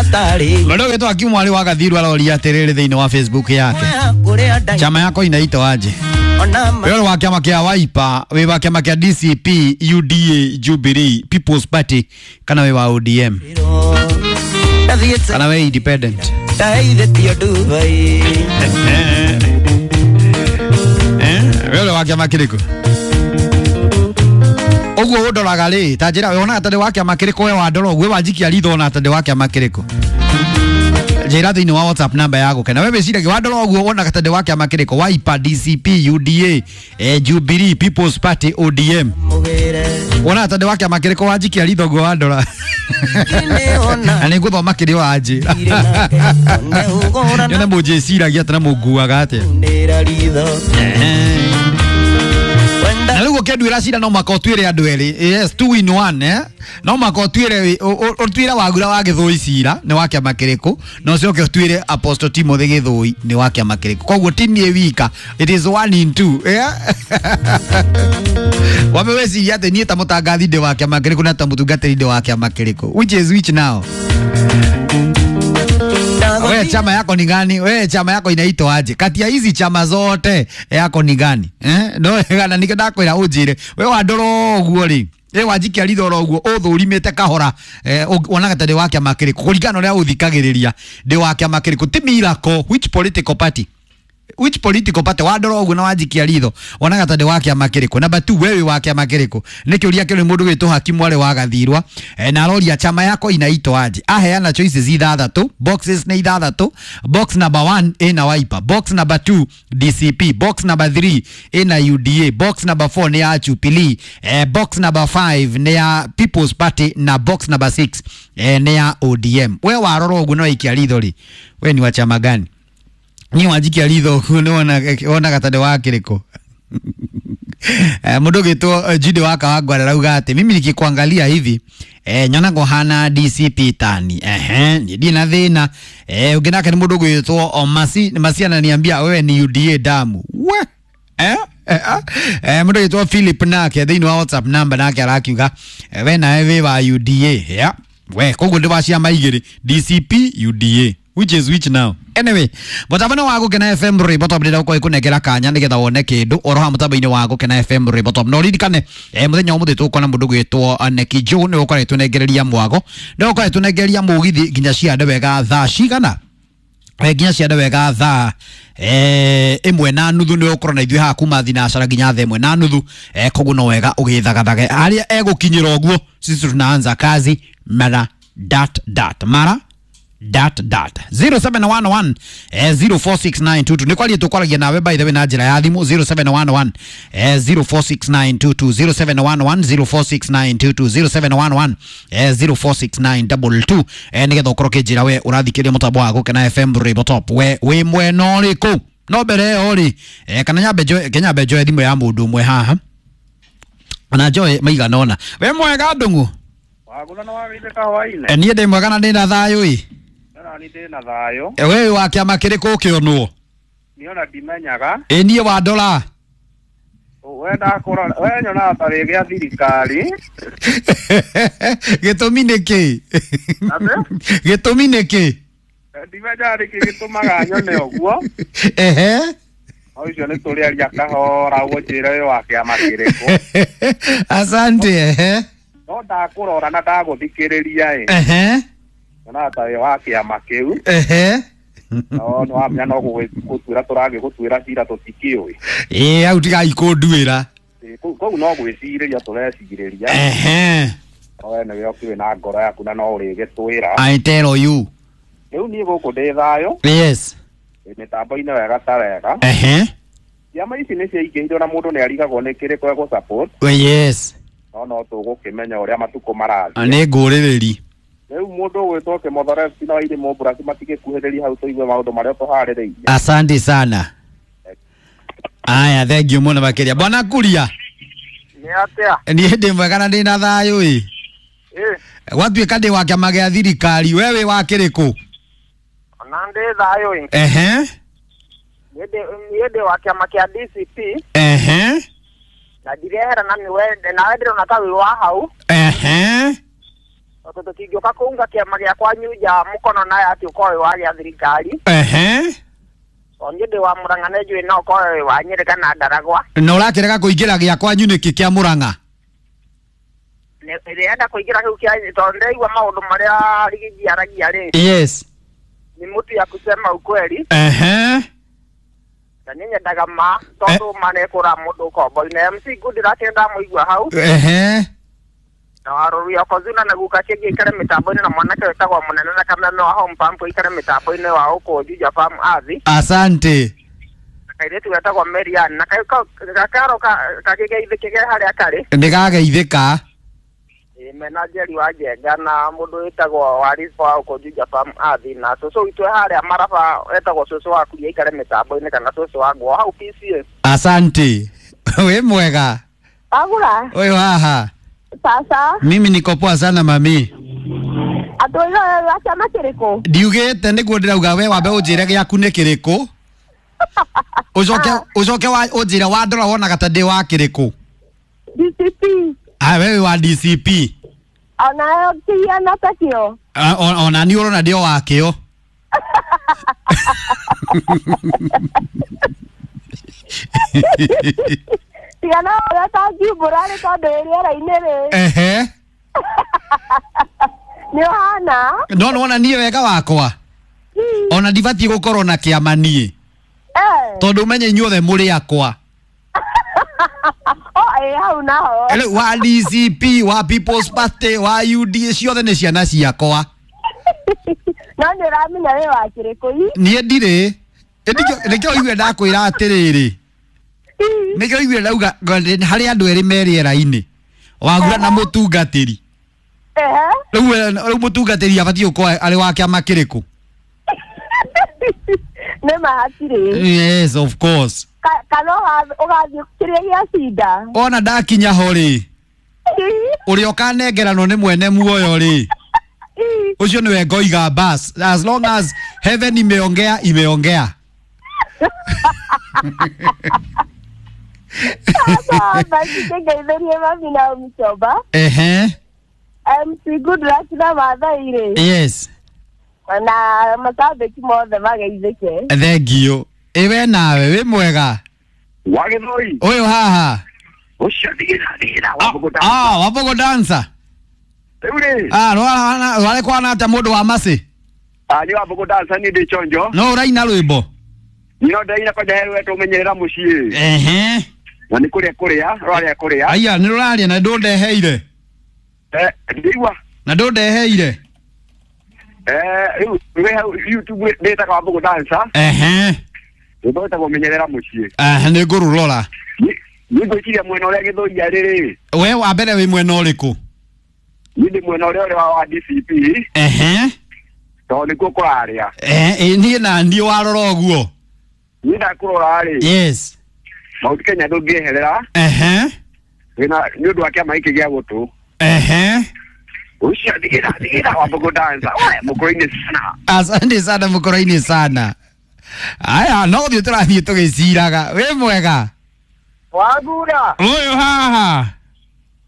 Mũndũ ũgĩtwo Akimu Mwarĩ wa Gathiru aroria atĩrĩrĩ thĩinĩ wa Facebook yake, chama yako inaitwa aje? Wewe wa chama kĩa Wiper, wĩ wa chama kĩa DCP, UDA, Jubilee, People's Party kana wĩ wa ODM kana wĩ independent? Wewe wa kĩama kĩrĩkũ? Ũguo ũndoraga rĩ, ta njĩra wonaga ta ndĩ wa kĩama kĩrĩkũ? We wandora ũguo wanjikia ritho wona ta ndĩ wa kĩama kĩrĩkũ? Njĩra thĩinĩ wa WhatsApp namba ya gũkena. We wĩciragia wandora ũguo wonaga ta ndĩ wa kĩama kĩrĩkũ? Wiper, DCP, UDA, Jubilee, People's Party, ODM. Wonaga ta ndĩ wa kĩama kĩrĩkũ wanjikia ritho ũguo wandora? Na nĩ ngũthoma kĩrĩa wanjĩra. Nyone mũnjĩciragia atĩa na mũnguaga atĩa. Na rĩu ũkĩnduĩra cira no mũhaka ũtuĩre andũ erĩ. Yes, two in one, eh? No mũhaka ũtuĩre ũtuĩre Wagura wa Gĩthũi cira nĩ wa kĩama kĩrĩkũ, na ũcoke ũtuĩre Apostle Timothy Gĩthũi nĩ wa kĩama kĩrĩkũ. Koguo ti niĩ wika, it is one in two, yeah? Wambe weciria atĩ niĩ ta mũtangathi ndĩ wa kĩama kĩrĩkũ na ta mũtungatĩri ndĩ wa kĩama kĩrĩkũ, which is which now? Wewe chama yako ni gani? Wewe chama yako inaitwa aje? Kati ya hizi chama zote yako ni gani? Eh? No gana nike ndakwira unjire. Wewe wandora ũguo rĩ. We wanjikia ritho oro ũguo ũthũrimĩte kahora, wonaga ta ndĩ wa kĩama kĩrĩkũ kũringana na ũrĩa ũthikagĩrĩria ndĩ wa kĩama kĩrĩkũ? Ti miracle. Which political party? Which political party? Wandora ũguo na wanjikia ritho wonaga ta ndĩ wa kĩama kĩrĩkũ? Number 2, wewe wa kĩama kĩrĩkũ? Nĩ kĩũria kĩrĩ mũndũ wĩtwo Hakimu Mwarĩ wa Gathirwa, na aroria chama yako inaitwa aje. Aheana choices ithathatũ, boxes nĩ ithathatũ. Box number 1 ĩna Wiper, box number 2 DCP, box number 3 ĩna UDA, box number 4 nĩ ya Jubilee, box number 5 nĩ ya People's Party na box number 6 nĩ ya ODM. We warora ũguo na waikia ritho rĩ, we ni wa chama gani? Ni wanjikia ritho ũguo nĩ wonaga ta ndĩ wa kĩrĩkũ? Mũndũ ũgĩtwo Jude wa Kawangware arauga atĩ mimi nikikuangalia hivi, nyonaga ũhana DCP tani. Ehe, niĩ ndirĩ na thĩna. Ũngĩ nake nĩ mũndũ ũgwĩtwo Omasi Masi ananiambia wewe ni UDA damu. We mũndũ ũgwĩtwo Philip nake thĩinĩ wa WhatsApp number nake arakiuga, we nawe wĩ wa UDA. Yeah. We koguo ndĩ wa ciama igĩrĩ, DCP, UDA, which is which now? Anyway, mũtambo-inĩ wa Gũkena FM rwĩmbo top ndĩrenda gũkorwo ĩkũnengera kanya nĩgetha wone kĩndũ oro haha mũtambo-inĩ wa Gũkena FM rwĩmbo top. Na ũririkane, mũthenya wa ũmũthĩ tũgũkorwo na mũndũ ũgwĩtwo Neki Joe, nĩwe ũkoretwo ũnengereria mwago, nĩwe ũkoretwo ũnengereria mũgithi nginya ciande wega thaa cigana, nginya ciande wega thaa 1:30. Nĩwe ũkorwo na ithuĩ haha kuma thinacara nginya thaa 1:30. Koguo no wega ũgĩthagathage harĩa egũkinyĩra ũguo. Sisi tunaanza kazi mara dot dot mara dot dot. 0711 046922 nĩ kwaria tũkwaragia nawe by the way na njĩra ya thimũ. 0711 046922, 0711 046922, 0711 046922, nĩgetha ũkorwo ũkĩnjĩra we ũrathikĩrĩria mũtambo wa Gũkena FM rwĩmbo top, we wĩ mwena ũrĩkũ? No mbere ĩyo rĩ, kana nyambe njoe, nyambe njoe thimũ ya mũndũ ũmwe haha na njoe maigana ũna. We mwega ndũng'ũ? Waguna na wagĩte kahwainĩ. Niĩ ndĩ mwega na ndĩ na thayũ ĩ. Na ni ndĩ na thayũ. We wa kĩama kĩrĩkũ ũkĩonwo? Niĩ ona ndimenyaga. Ĩ niĩ wandora. We ndakũrora, we nyonaga ta wĩ gĩa thirikari. Gĩtũmi nĩ kĩ? Atĩ? Gĩtũmi nĩ kĩ? Ndimenyaga nĩkĩ gĩtũmaga nyone ũguo. Ehe. No icio nĩ tũrĩaria kahora ũguo njĩre wĩ wa kĩama kĩrĩkũ. Asante, ehe. No ndakũrora na ndagũthikĩrĩria ĩ. Ehe. Nyonaga ta wĩ wa kĩama kĩu. Ehe. No nĩ wamenya no gũgĩtuĩra tũragĩgũtuĩra cira tũtikĩũĩ. Ĩ hau tigai kũnduĩra. Koguo no gwĩcirĩria tũrecirĩria. Ehe. No we nĩwe ũkĩũĩ na ngoro yaku na no ũrĩgĩtwĩra. I tell you. Rĩu niĩ gũkũ ndĩ thayũ. Yes. Mĩtambo-inĩ wega ta wega. Ehe. Ciama ici nĩ ciaingĩhire na mũndũ nĩ arigagwo nĩ kĩrĩkũ egũ support. Yes. No no tũgũkĩmenya ũrĩa matukũ marathiĩ. Nĩ ngũrĩrĩri. Rĩu mũndũ ũgwĩtwo Kĩmotho na Wairimu Mũmburasi matigĩkuhĩrĩria hau tũigue maũndũ marĩa tũharĩrĩirie. Asante sana. Aya, thank you mũno makĩria. Bwana Kuria. Nĩ atĩa? Niĩ ndĩ mwega na ndĩ na thayũ ĩ. Gwatuĩka ndĩ wa kĩama gĩa thirikari, we wĩ wa kĩrĩkũ? Ona ndĩ thayũ ĩ. Ehe. Niĩ ndĩ wa kĩama kĩa DCP. Ehe. Na ndirehera na nĩwe nawe ndĩrona ta wĩ wa hau. Ehe. Tondũ tũtingĩũka kũunga kĩama gĩa kwanyu nja mũkono naye atĩ ũkorwo wĩ wa gĩa thirikari. Ehe. Tondũ niĩ ndĩ wa Mũrang'a na njũĩ no ũkorwo wĩ wa Nyĩrĩ kana Ndaragwa. Na ũrakĩrega kũingĩra gĩa kwanyu nĩkĩ kĩa Mũrang'a? Ndĩrenda kũingĩra kĩu kĩa tondũ ndĩraigua maũndũ marĩa Rigiji aragia rĩ. Yes. Ni mtu ya kusema ukweli. Ehe. Na niĩ nyendaga ma tondũ ma nĩkũra mũndũ ũkombo-inĩ. MC Good ndĩrakĩenda ndamũigua hau. Ehe. Na warũri Okozuna na guka kĩngĩ ikare mĩtambo-inĩ na mwanake wĩtagwo Mũnene na Kameme wa Home Pump ikare mĩtambo-inĩ wa gũkũ Juja Farm Athi. Asante. Na kairĩtu getagwo Marian na gakaro kagĩgeithĩkĩge harĩa karĩ. Nĩgageithĩka. Mena Njeri wa Njenga na mũndũ wĩtagwo Warifa wa gũkũ Juja Farm Athi na cũcũ witũ harĩa Maraba wetagwo cũcũ wa Kuria ikare mĩtambo-inĩ kana cũcũ wa Ngũa hau PCA. Asante. Wĩ mwega. Agura. Ũyũ haha. Sasa. Mimi niko poa sana mami. Atũiga wa chama kĩrĩkũ? Ndiugĩte nĩguo ndĩrauga we wambe ũnjĩre gĩaku nĩ kĩrĩkũ. Ũcoke wa ũnjĩre wandora wonaga ta ndĩ wa kĩrĩkũ. DCP. Ah, wewe wa DCP. Ona kĩhiano ta kĩo. Ona niĩ ũrona ndĩ o wa kĩo. Tigana ũrĩa ũtangiumbũra rĩ tondũ wĩ rĩera-inĩ rĩ. Ehe. Nĩ ũhana? No nĩwona niĩ wega wakwa. Ona ndibatiĩ gũkorwo na kĩama niĩ. Tondũ ũmenye inyuothe mũrĩ akwa. O ĩ hau naho. Rĩu wa DCP, wa People's Party, wa UDA ciothe nĩ ciana ciakwa. No nĩ ũramenya wĩ wa kĩrĩkũ i? Niĩ ndirĩ. Nĩkĩo ũigue ndakwĩra atĩrĩrĩ. Nĩkĩo ũigue ndauga harĩ andũ erĩ me rĩera-inĩ. Wagura na mũtungatĩri. Rĩu mũtungatĩri abatiĩ gũkorwo arĩ wa kĩama kĩrĩkũ? Nĩ ma hatirĩ. Yes, of course. Kana ũgathiĩ kĩrĩa gĩa cinda. Ona ndakinya ho rĩ, ũrĩa ũkanengeranwo nĩ mwene muoyo rĩ, ũcio nĩwe ngoiga bas. As long as heaven imeongea, imeongea. Sasa basi kĩngeithĩrie mami na Mchoba. Ehe. MC Good Luck na Maathai rĩ. Yes. Na macambĩki mothe mageithĩke. Thank you. Ĩwe nawe wĩ mwega. Wa Gĩthũi. Ũyũ haha. Ũcio ndigĩra wa Ah, wa Mbogo dancer. Rĩu rĩ. Ah, rwarĩ kwana atĩa mũndũ wa Macĩ? Ah, nĩ wa Mbogo dancer niĩ ndĩ chonjo. No ũraina rwĩmbo? No ndaina kwanja he rwetwo menyerera mũciĩ. Ehe. Na nĩ kũrĩa kũrĩa, rwarĩa kũrĩa. Aya, nĩ rũraria na ndũndeheire. Ndĩigua. Na ndũndeheire. Rĩu wĩ hau YouTube ndĩtaga wa Mbogo dancer. Ehe. Rwĩmbo rwĩtagwo menyerera mũciĩ. Ehe, nĩ ngũrũrora. Niĩ ngwĩciria mwena ũrĩa Gĩthũi arĩ rĩ. We wa mbere wĩ mwena ũrĩkũ? Niĩ ndĩ mwena ũrĩa ũrĩ wa DCP. Ehe. Tondũ nĩkuo kũrarĩa. Niĩ na niĩ warora ũguo. Niĩ ndakũrora rĩ. Yes. Mount Kenya ndũngĩeherera. Ehe. Wĩna nĩ ũndũ wa kĩama gĩkĩ gĩa gũtũ. Ehe. Ũcio ndigĩra wa Mbogo dancer. We mũkũrũ-inĩ sana. Asante sana mũkũrũ-inĩ sana. Aya, no gũthiĩ tũrathiĩ tũgĩciraga. Wĩ mwega? Wagura. Ũyũ haha.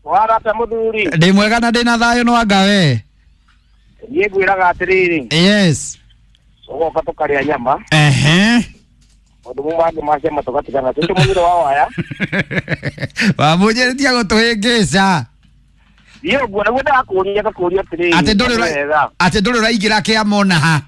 Warata mũthuri. Ndĩ mwega na ndĩna thayũ no anga we. Niĩ ngwĩraga atĩrĩrĩ. Yes. Ũgoka tũkarĩa nyama. Ehe. Maũndũ mau mangĩ ma ciama tũgatigana. Cũcũ mũgiro wa waya. Wamũnjĩrĩtie gũtũhĩngĩca. Niĩ ũguo nĩguo ndakũria ngakũria atĩrĩrĩ. Atĩ ndũrĩ ũraingĩra kĩama ona ha.